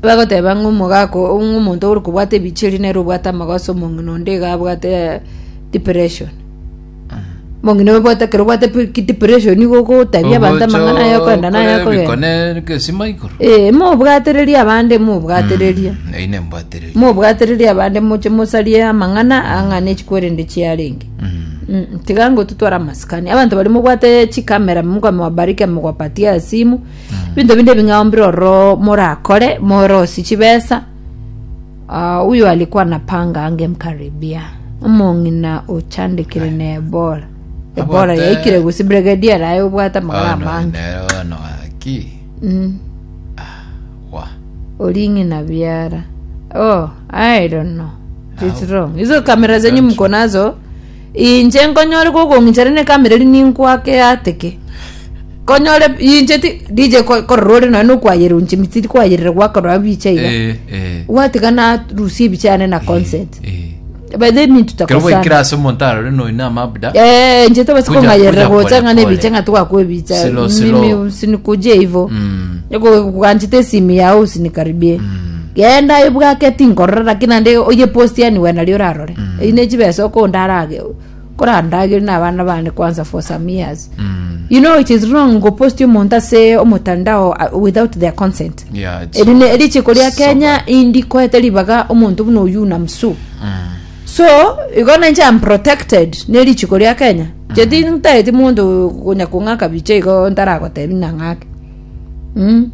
Bagoteba ng'a omogaka oo ng'a omonto ore kobwata ebicha eria nere obwate amagoso omong'ina onde iga abwate depression. Omong'ina oyo obwate ekero obwate pi- ki- depression nigo ogotabia abanto amang'ana aya okoenda na aya okogenda. Bikone gesima igoro. Eh, mobwatererie abande mobwatererie. Eyio nembwatererie. Mobwatererie abande moche mosarie amang'ana ang'ana echikwerende chiarenge. Mm, tiga ngototwara amasikani. Abanto baria mobwate chikamera Mungu amewabariki amewapatia simu. Ebinto binde ebing'ao mbire ororo morakore morosie chibesa. Ah, huyo alikuwa anapanga angemkaribia omong'ina ochandekire na Ebola. Ebola Abwate- yaikire gose brigadier aye obwate amagara Ono amange. nere ono gaki. Mm. Wa. Ori ng'ina biara. Oh, I don't know. It's wrong. Hizo kamera zenyu mko nazo inche nkonyore gokong'inchera ne kamera eri ninkwake ateke. Konyore inche ti DJ ko- korora ore nonya nokwayera inche tiri kwayerera gwakorora bicha iga. Eh, eh. Gwatiga narusia ebicha yane na consent. Eh. By the mean Kero tutakosana. gwaikire ase omonto arore noyo na amabda. Eh, inche tobasi Kuja- kong'ayerera kuja gocha pole ng'a ne pole. ebicha ng'a twakwa ebicha. Slow, slow. Mimi usinikuje hivyo. Mm. Gwanchete esimu yao usinikaribie. Genda ebwake tinkorora lakini naende oye post yani we nario orarore. Eyio ne chibesa okondarage korandagere na abana bane kwanza for some years. Mm. You know it is wrong gopost omonto ase omotandao uh, without their consent. Yeah, it's Eri ne richiko ria so Kenya bad. indi koete ribaga omonto buna oyio na msu. So igo nainche am protected ne richiko ria Kenya. Inche tintaeti monto konya kong'aka bicha igo ntaragotebi nang'ake. Mm.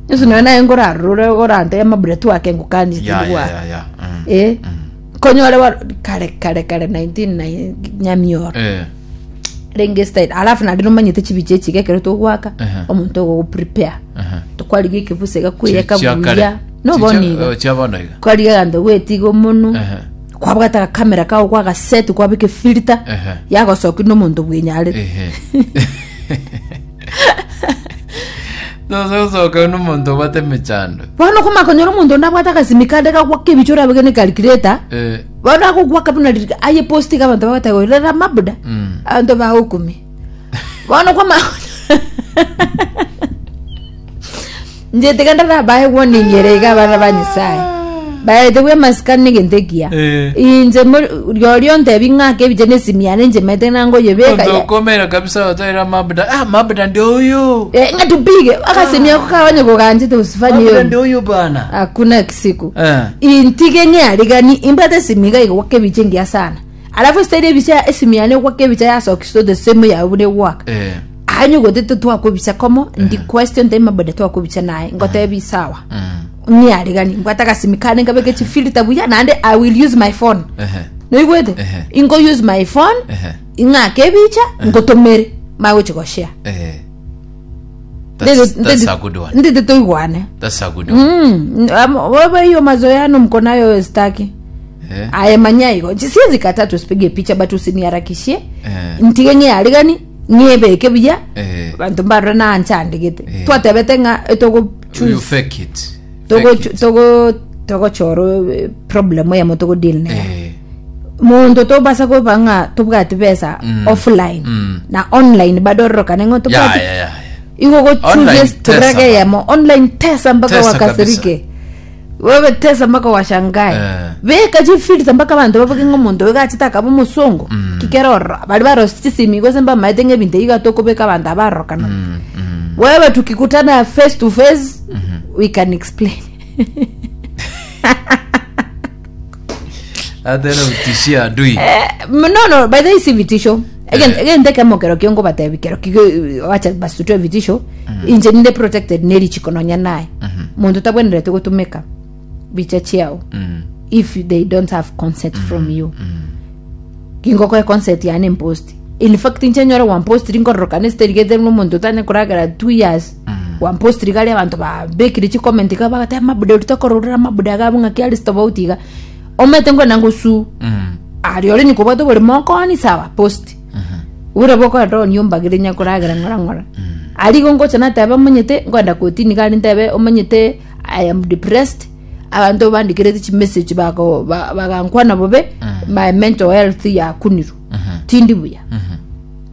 Yesu nonya naye nkorarore orantebie amabura twake ngokanie Yeah, tindi yeah, gwaka. yeah, yeah. Mm. Eh. Konyore wa kare kare kare 19 na nyamioro. Eh. Renge style. Alafu naende nomanyete chibicha echi iga ekero togwaka Ehe. omonto ogo prepare. Ehe. Tokwarigia ekebuse gakweyeka Chia kare. buya. Nobona Chia- iga. eh, chia bono iga. Kwarigia egento gwetiga omonwe. Ehe. Kwabwata agakamera kao kwagaset kwabeka efilter Ehe. yagosokia nomonto bwenyarete. Ehe. Tosogosoka nomonto obwate emechando. Bono okomanya konyora omonto onde abwate agasimi kande kagwaka ebicha orabe ne calculator Eh, bono agogwaka buna ririka aye post iga abanto bagoteba oyo rora mabuda Mm. abanto bagokumia bono kwamanya inche tiga ndarabae warning ere iga abana ba nyasaye baete bwa amasikani negento ekiya Eh. inche mo- rirorio ontebi ng'ake ebicha na esimi yane inche maete nangoyebeka Omonto ya- okomera kabisa otaira mabuda. Ah, mabuda ndio huyu. Eh, ng'a tupige akasimi ako kawanye koganchete usifanye Mabuda hiyo ndio huyu bana. hakuna siku Eh. intige ng'earigani imbate esimi iga igwaka ebicha engiya sana alafu esitari ebicha esimi yane egwaka ebicha yasokisto the same yawe buna egwaka Eh. Aye gotete twakobisa komo ndi question time maboda twakobisa naye ngotebi sawa Mm. ng'iarigani mbwate agasimi kane nkabeke chifilter buya naende i will use my phone Ehe. noigwete Ehe. ingo use my phone Ehe. ing'ake ebicha ngotomere magochi goshare Eh. That's, that's a good one. ndete toigwane That's a good one. Mm, am- wewe hiyo mazoeano mko nayo staki Eh. aye manya igo siwezi kataa tusipige picha but usiniharakishie Eh. ntige ng'iarigani ng'ebeke buya Eh. abanto mbarore nanchandegete Eh. twatebete ng'a etogo You choose fake it. togo Fake it. togo togochora eh, problem eyemo togo deal nayo Eh. monto tobasa koba ng'a tobwati besa Mm. offline Mm. na online bado ororokane ng'a Yeah, tobwati yeah, yeah. igo Online gochoose tesa turege ba. eyemo online tesa mpaka Tesa wakasirike wewe tesa mpaka washangae Eh. beka chifilter mpaka abanto baboke ng'a omonto oyo gachete akaba omosongo Mm. kikera ororo bari barosi chisimi gose mbamaete ng'a ebinto ebi iga tokobeka abanto abarorokana Mm, mm. wewe tukikutana face to face we can explain Hata ero utishia adui. Eh, no no by the way si vitisho again Eh. again ndeke mokero kio ngobatebi kero kigo wacha basutwe vitisho inche ninde protected neri chikononya naye muntu tabwenerete gotumeka bicha chiao Mm. if they don't have consent from you gingokoe consent yane mpost in fact inche nyore wampost rinkororokana esiterigete nomonto otanye koragera two years wampost rigari abanto babekire chicomment iga bagateba mabuda oria tokororera mabuda iga abwo ng'aki aria tofauti iga omanyete nkwenda ngosu Mm. aria ore nyikobwate oborimo okoni sawa post buna bokoenda onia ombagere nyakoragera ng'ora ng'ora aria igo ngocha nateba omanyete nkoenda kotini iga aria ntebe omanyete i am depressed abanto bandikerete chimessage bako ba- bagankwana bobe my mental health yakunirwe tindi buya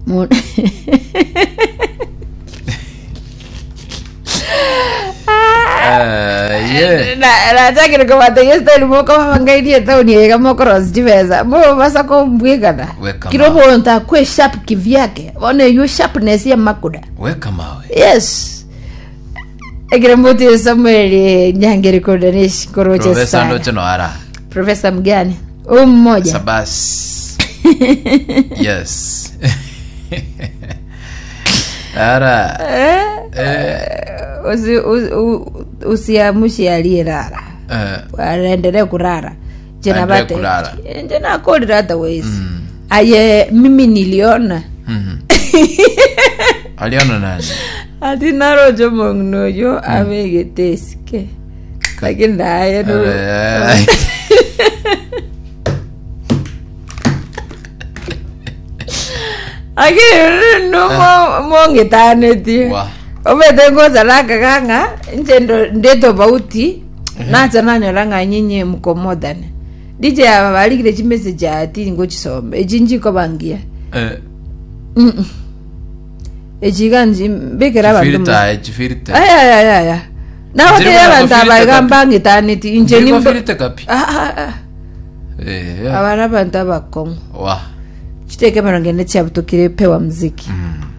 Mo- Eh, yeah. Aye. Nachakire kobatebia estyle mokoba bangairie etaoni eye iga mokorosia chibesa mobasa kombwekana Weka kira mawe. omonto akwe sharp kivyake bono eywo sharpness ya makuda Weka mawe. yes ekero mbuti samuel nyangeri kodanish koroche Profesa sana ndoche no ara. profesa mgani huyu mmoja Sabas. Yes. Ara. Eh, usi- usi- u- usiamushe aliyelala Eh, aendelee kurara jena Aendelee bate kurara. jena akolira hata wezi aye mimi niliona mhm. Aliona nani? ati narojo mong'noyo abegete esike lakini naye no Eh. lakini no mong'etanetie Wa. omete ngosarakaga ng'a inche ndo- ndi tofauti nacha nanyora ng'a nyinyi mko modern dj aba barigire chimessage ati ngochisoma echi nchikobangia Eh, Mm-mm. echi iga nchi mbikera abanto mo- chifirita, eh, chifirita. ayayayaya Nchiri nagoteria buna abanto aba kofirita iga kapi. mbang'etaneti inche Chiri nimbo kofirita kapi. Ah, ah, ah. Eh, yeah. aba na abanto abakong'u Wa. chiteke emerongo ene chiabutokire pewa mziki Mm.